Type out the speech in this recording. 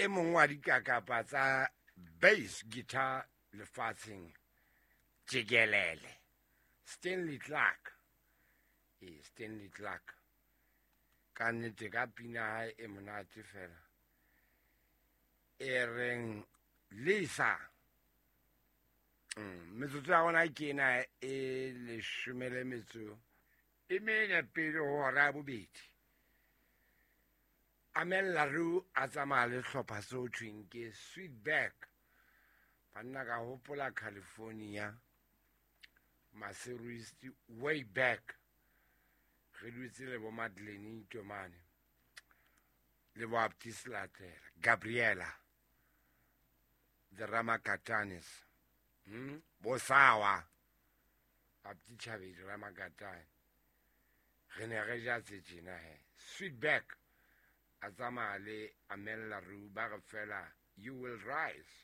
E mong wa dikakapa tsa bass guitar lefatsheng jikelele, Stanley Clark. Ee, Stanley Clark ka nnete ka pina hae e monate fela e reng Lisa. Metsotso ya rona ke ena e leshome le metso e mene pele ho hora ya bobedi. Amel Laroo a tsamaya le hlopha se ho thweng ke Sweetback. Banna, ka hopola California, Maseru East, way back, re dutse le bo Madeleine Itomane le bo Aptis Latela, Gabriela, the Ramakatanes, Bo Sawa, Apti Chabedi Ramakatane. Re ne re ja tse tjena he. Sweetback a tsamaya le Amel Laroo, ba re fela, "You Will Rise."